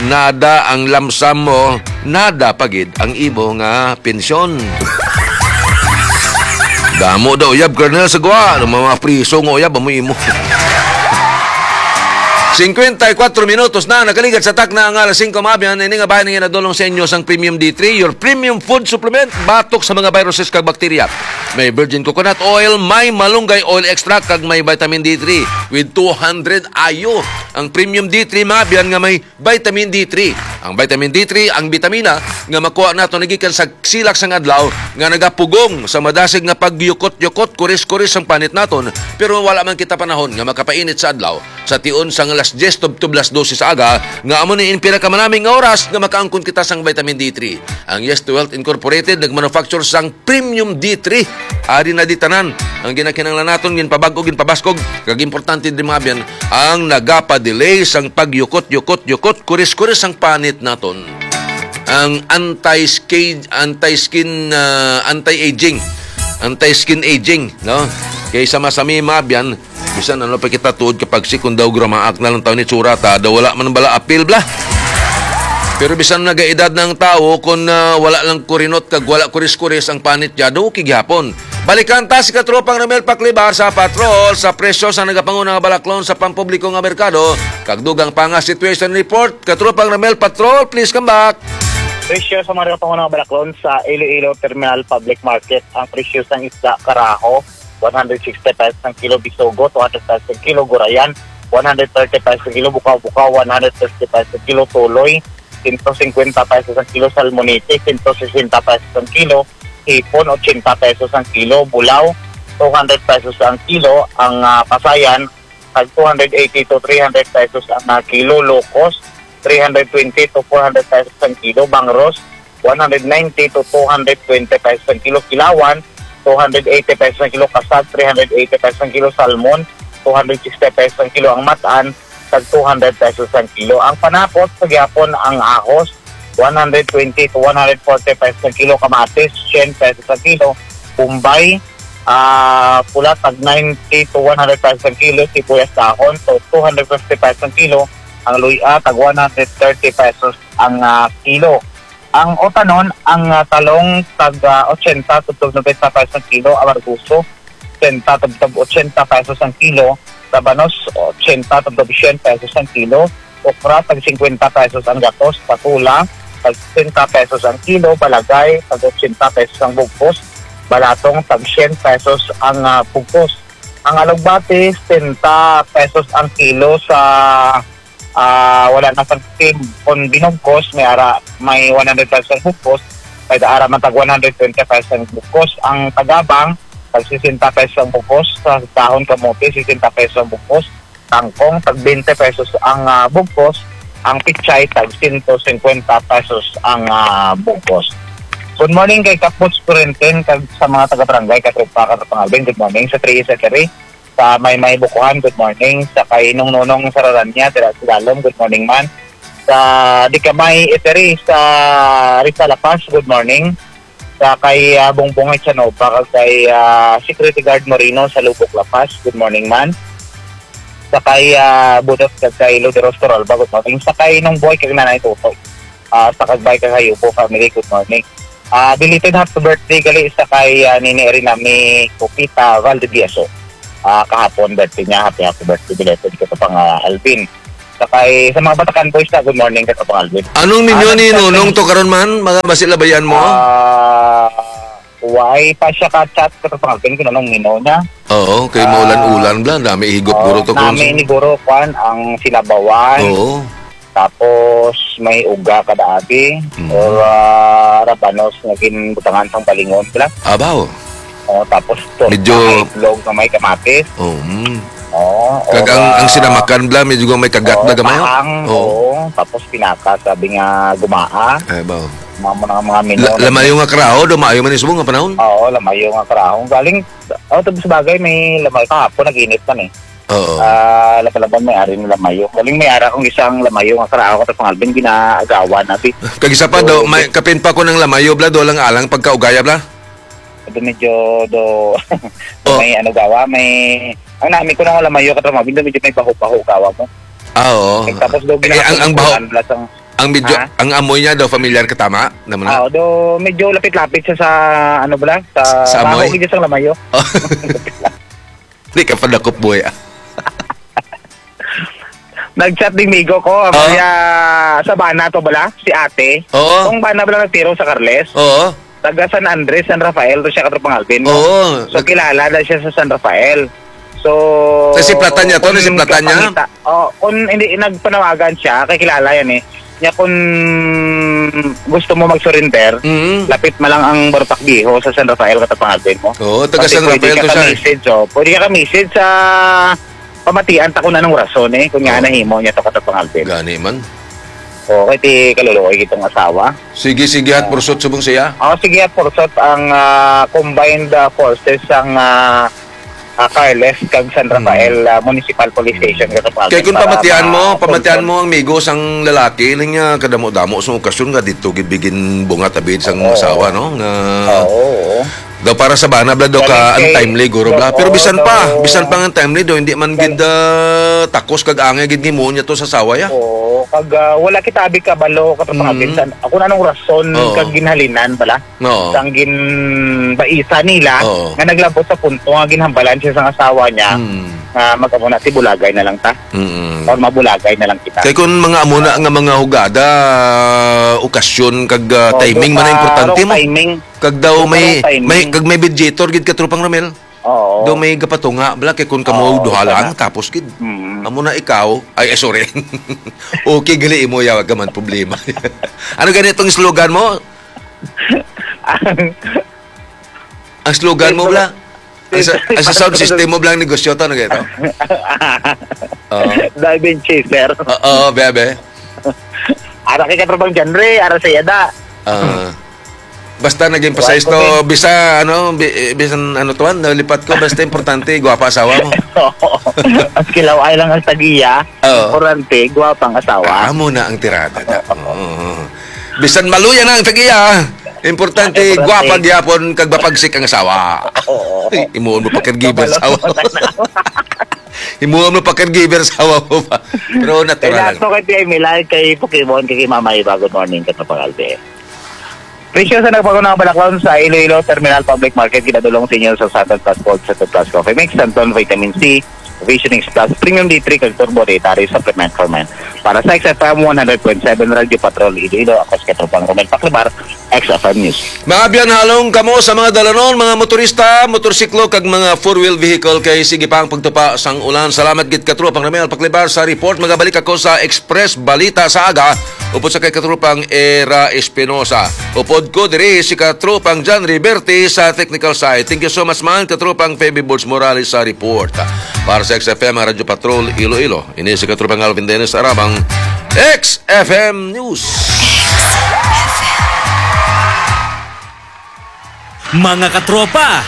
nada ang lamsam mo, nada pa gid ang imo nga pensyon. Damo daw uyab, Colonel, sa gwa. Ang mga priso nga uyab, amo imo. Singkwenta y kuwatro minutos na nakaligad sa takna nga alas singko, maabyan. Ini nga bahin nga nadulong sa inyo sang Premium D three, your premium food supplement, batok sa mga viruses kag bakterya. May virgin coconut oil, may malunggay oil extract, kag may vitamin D three with two hundred I U. Ang Premium D three, maabyan, nga may vitamin D three. Ang vitamin D three, ang bitamina nga makuha nato nagikan sa silak sang adlaw nga nagapugong sa madasig nga pagyukot-yukot, kuris-kuris sang panit naton, pero wala man kita panahon nga makapainit sa adlaw. Sa tion sang alas diyes tubtob alas dose sa aga, nga amo ni in pinakamanami nga oras nga makaangkon kita sang vitamin D three. Ang Yes to Health Incorporated nagmanufacture sang Premium D three. Ari na di tanan ang ginakinahanglan naton, ginpabag-o, ginpabaskog, kag importante di, maabyan, ang nagapa-delay sang pagyukot-yukot-yukot, kuris-kuris sang panit naton. Ang anti-skin, anti-skin, ah, anti-aging, anti-skin aging, no? Kay sa masami, maabyan, bisan ano pa kita tuod kapag si kung daw gramaak na lang taon ni tsura ta, daw wala man bala apil bla. Pero bisan nagaedad na ang tawo, kung, ah, wala lang kurinot kag wala kuris-kuris ang panit niya, daw okay gihapon. Balikan ta si Katropang Ramel Paklibar sa Patrol sa presyo sa nagapanguna nga balaklon sa pampubliko nga merkado, kag dugang pa nga situation report. Katropang Ramel Patrol, please come back. Presyo sa mga nagapanguna nga balaklon sa Iloilo Terminal Public Market. Ang presyo sang isda, karaho, one hundred sixty pesos ang kilo, bisugo, two hundred pesos ang kilo, gurayan, one hundred thirty pesos ang kilo, bukaw-bukaw, one hundred fifty pesos ang kilo, tuloy, sento singkwenta pesos ang kilo, salmonete, sento sesenta pesos ang kilo, hipon, ochenta pesos ang kilo, bulaw, two hundred pesos ang kilo, ang, ah, pasayan, tag two hundred eighty to three hundred pesos ang, ah, kilo, locos, three hundred twenty to four hundred pesos ang kilo, bangros, one hundred ninety to two hundred twenty pesos ang kilo, kilawan, two hundred eighty pesos ang kilo, kasag, three hundred eighty pesos ang kilo, salmon, two hundred sixty pesos ang kilo, ang matan, tag two hundred pesos ang kilo. Ang panapot, sa gyapon ang ahos, one hundred twenty to one hundred forty pesos ang kilo, kamatis, cien pesos ang kilo, bombay, ah, pula, tag ninety to one hundred pesos ang kilo, sibuyas dahon, to two hundred fifty pesos ang kilo, ang luya, tag one hundred thirty pesos ang, ah, kilo. Ang utanon, ang, ah, talong, tag, ah, ochenta tubtob nobenta pesos ang kilo, amarguso, ochenta tubtob ochenta pesos ang kilo, rabanos, ochenta tubtob sien pesos ang kilo, okra, tag singkwenta pesos ang gatos, patola, tag sesenta pesos ang kilo, balagay, tag ochenta pesos ang bugkos, balatong, tag sien pesos ang, ah, bugkos. Ang alugbati, sesenta pesos ang kilo sa, ah, wala na sang steam. Kung binugkos, may ara, may one hundred pesos ang bugkos, may ara man tag one hundred twenty pesos ang bugkos. Ang tagabang, tag sesenta pesos ang bugkos. Sa dahon kamote, sesenta pesos ang bugkos. Tangkong, tag twenty pesos ang, ah, bugkos. Ang pichay, tag sento singkwenta pesos ang, ah, bugkos. Good morning kay Kapos Corintin, kag sa mga taga-barangay, katropa, katropa Alvin. Good morning. Sa three secretary, sa Maymay Bukuhan, good morning. Sa kay Nong Nonong Sararanya, dira sa Dalom, good morning man. Sa Dikamay Eatery sa Rizal, La Paz, good morning. Sa kay, ah, Bongbong Echanova, kag kay, ah, Security Guard Moreno sa Lubok, La Paz, good morning man. Sa kay, ah, Budot, kag kay Luderos Toralba, good morning. Sa kay Nong Boy, kag Nanay Toto. Ah, sa Kagbay, kag Hayupo family, good morning. Ah, belated happy birthday gali sa kay, ah, Nini Erinami Kupita Valdivieso. Ah, kahapon birthday niya, happy, happy birthday belated, Katropang, ah, Alvin. Sa kay, sa mga Batakan Boys na, good morning, Katropang Alvin. Anong minyo Ah, ni nagchat Nonong lang. To karon man? Mga basi labayan mo? Ah, why pa siya ka-chat, Katropang Alvin, kung anong minyo niya? Oo, kay Ah, maulan-ulan bla, dami higop oh, guro to, nami Consul. Ni guro, kwan, ang sinabawan. Oo. Tapos may uga kada abi Mm. or, ah, rabanos nga ginbutangan sang balingon sila. Abaw. Oh, tapos torta Medyo nga itlog nga may kamatis. Oh, mm. Oh, Kag or, ang, ang ah, sinamakan bla, medyo may kagat oh, bla gamay, oh. Paang, Oo. Oo. Tapos pinaka, sabi nga gumaa. Ay, baw. Mga, mga, mga mino La-, na lamayo nga karaho, do maayo man isubong nga panahon. Oo, lamayo nga karaho. Galing, oh, tapos bagay, may lamayo kahapon, nag-init man eh. Oo. Ah, lapalaban may ari ng lamayo. Galing may ara kong isang lamayo nga karaho ko sa pangalbin, ginaagawan na, bi. Kag isa pa, do, So, may, kapin pa ko ng lamayo, bla, do lang alang pagkaugaya, bla? Do medyo, do, Oh. may ano gawa, may, ang nami ko na nga lamayo, katrabaho, do medyo may baho-baho gawa mo. Ah, oo. Eh, tapos do Eh, ang, ang baho, ginahapunan, bla, sang, ang medyo, Ha? ang amoy niya daw familiar ka, tama? Naman na? Ah, do medyo lapit-lapit siya sa, ano, bla, sa Sa baho, amoy? Gid sang lamayo. Oh. Di ka pa dakop, boy, ah. Nag-chat ding migo ko, Ah. Maria Sabana to bala, si ate. Oo. Kung bana bala nagtiro sa Carles. Oo. Taga San Andres, San Rafael to siya, katropang Alvin, no? Oo. So, Nag- kilala na siya sa San Rafael. So, Nasiplatan niya to? Kung Nasiplatan niya? Kapangita-, oh, kung hindi, nagpanawagan siya, kay kilala yan eh. Niya kung gusto mo mag-surrender, Mm. lapit man lang ang Barotac Viejo sa San Rafael, katropang Alvin mo. Oo, taga Pati San pwede Rafael ka to siya eh. ka-message, oh. Pwede ka ka-message sa pamatian ta kung anong rason eh, kung nga Oo. nahimo niya to, katropang Alvin. Gani man. Oo, kay ti kaluluoy itong asawa. Sige, sige, at Ah. pursot subong siya. Oh, sige, at pursot ang, ah, combined, ah, forces sang, ah, ah, Carles kag San Mm. Rafael, ah, Municipal Police Station, Mm. katropang Kay Alvin, kung para pamatian mo, ma-confirm. Pamatian mo ang migo sang lalaki, lang niya kadamo-damo sa okasyon nga dito gibigin bunga tabid sang Oo. asawa, no? Nga Oo, oo. Daw para sa bana, bla, daw Galing ka kay untimely, guro, bla. Pero bisan pa, daw bisan pa nga untimely, daw, hindi man Kay gid, ah, takos kag angay gid ni mo niya to sa sawa, ya. Oo, kag, ah, wala kita abi kabalo, katong mga Mm. pinsan. Ako na anong rason Oo. kag ginhalinan, bala? Oo. Sang ginbaisa nila, Oo. nga naglabot sa punto nga ginhambalan siya sa asawa niya, Mm. nga mag-amo na, tibulagay na lang ta. Mm. Or mabulagay na lang kita. Kay kung mga amo na nga mga hugada, okasyon, kag, ah, Oo, timing man ang importante mo. Timing. Kag daw may, may, kag may mediator gid ka, Tropang Romel. Oo. Daw may gapatunga, bala, kay kung kamo duha lang, tapos gid. Mm. Amo na ikaw, ay, ay, sorry. Okay, gali imo, ya, wag ka man problema. Ano gani itong slogan mo? Ang slogan mo, bala? Ang sa, ang sa sound system mo, bala, ang negosyo to, ano gani to? Oo. Diving chaser. Oo, bebe. Ara kay katropang genre, ara sa yada. Ah. Basta naging pasahero, bisa, ano, bi-, bisan ano tuwan, nalipat ko, basta importante, gwapa asawa mo. Mas kilaway lang ang tagiya, Oo. importante, gwapa ang asawa. Ah, amo na ang tirada na. Oo. Oo. Bisan maluya na ang tagiya, importante, Importante. Gwapa gyapon, kag mapagsik ang asawa. Oo. Ay, imuon mo pa caregiver sa awa. Imuha mo pa caregiver sa awa mo pa. Pero natural lang. Kay Nato, kay P I Milay, kay Pokemon, kay Mama Eva, good morning, katropang Alvin. Presyo sa nagpagunang balaklon sa Iloilo Terminal Public Market, ginadulong sa inyo sa Santon Plus Gold, Santon Plus Coffee Mix, Santon Vitamin C, Visionix Plus, Premium D three, kag Turbo Dietary Supplement for Men. Para sa X F M one hundred point seven Radyo Patrol Iloilo, ako si Katropang Romel Paclabar, X F M News. Mga abyan, halong kamo sa mga dalanon, mga motorista, motorsiklo, kag mga four-wheel vehicle kay sige pa ang pagtupa sang ulan. Salamat gid, Katropang Romel Paclabar, sa report. Magabalik ako sa Express Balita sa aga, upod sa kay Katropang Era Espinosa. Upod ko diri si Katropang John Riverte sa technical side. Thank you so much man, Katropang Feby Bulls Morales sa report. Para sa X F M Radyo Patrol Iloilo, ini si Katropang Alvin Dennis Arabang, X F M News. Mga katropa,